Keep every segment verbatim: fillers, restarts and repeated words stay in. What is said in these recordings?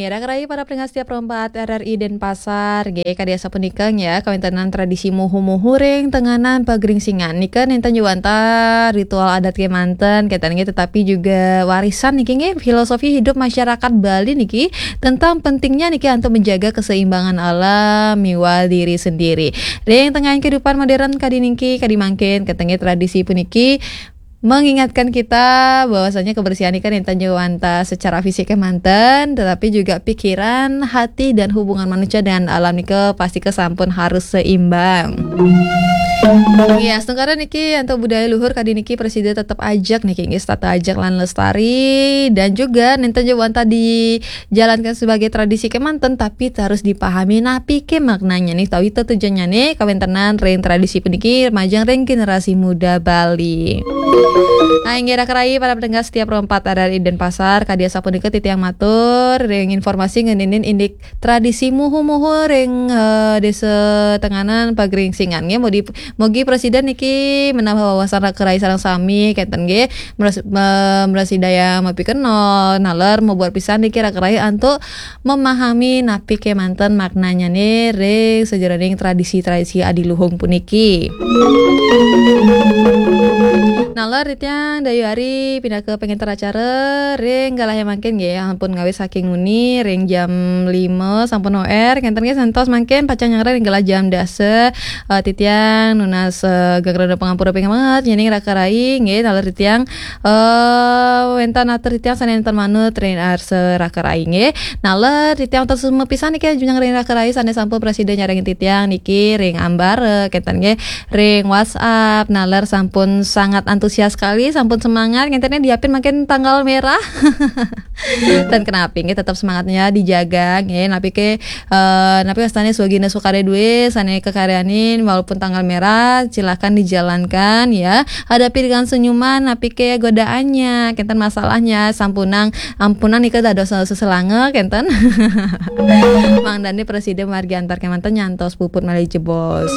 Kira kerai para pendengar setia Pro empat R R I Denpasar, nggih, kadi asapunika ya, kawéntenan tradisi muhu-muhu ring tenganan pagringsingan. Nika nénten jawanta ritual adat kémanten, kénten nggih, tetapi juga warisan niki nggih, filosofi hidup masyarakat Bali niki tentang pentingnya niki untuk menjaga keseimbangan alam miwah diri sendiri. Ring tengahan kehidupan modern kadi niki, kadi mangkin, kénten nggih, tradisi puniki mengingatkan kita bahwasanya kebersihan ini kan nénten jawanta secara fisik kémanten, tetapi juga pikiran, hati, dan hubungan manusia dengan alam nika pasti ke sampun harus seimbang. Ya, astungkara niki untuk budaya luhur kadi niki prasida tetap ajak niki, nggih, setata ajak lan lestari, dan juga nénten jawanta dijalankan sebagai tradisi kémanten, tapi harus dipahami napi ke maknanya nih, tawi tujuannya nih, kawéntenan ring tradisi puniki majeng ring generasi muda Bali. Nah, inggih raka rai para pendengar setia Pro empat R R I Denpasar, kadi asapunika titiang matur ring informasi ngeninin indik tradisi muhu-muhu ring eh, Desa Tenganan Pagringsingan nggih. Mugi, mugi prasida niki menambah wawasan raka rai sareng sami kénten nggih. Meras, me, mrasidayang mapikenoh, naler mabuat pisan niki raka rai antuk memahami napi kémanten maknanya nih ring sajeroning tradisi-tradisi adiluhung puniki. Naler titiang Dayu Ari pinaka pangenter acara ring galah mangkin nggih, ampun ngawit saking nguni ring jam lima sampun O R, kénten nggih, santos mangkin pacang nyanggra ring galah jam dasa. Eh, titiang nunas eh, geng rena pangampura pingamat nyening raka rai nggih, naler titiang eh wénten atur titiang sané nénten manut ring arsa raka rai nggih. Naler titiang terus mapisan niki, ajunjung ring raka rai sané sampun prasida nyarengin titiang niki ring ambara, kénten nggih, ring WhatsApp. Naler sampun sangat antusias sekali, sampun semangat, ngénten nggih, diapin mangkin tanggal merah. Dan kenapi nggih, tetap semangatnya dijaga nggih. Napi ke eh napi wastané swagina sukarya duwé sané kakaryanin walaupun tanggal merah, silakan dijalankan ya. Hadapi dengan senyuman, napi ke godaannya, kénten masalahnya, sampunang, ampunang nika dados seselanga, kénten. Mangdané prasida margi antar kémanten nyantos puput malih jebos.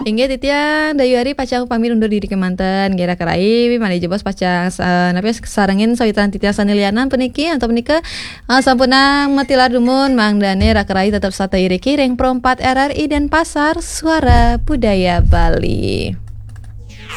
Inggih titiang Dayu Ari pacang pamit undur diri kémanten, nggih raka rai malih jebos pacang eh, napi sarengin sawitan titiang sané lianan puniki antuk punika eh, sampunang matilar dumun, mangdané raka rai tetep setata iriki ring Pro empat R R I Denpasar, Suara Budaya Bali.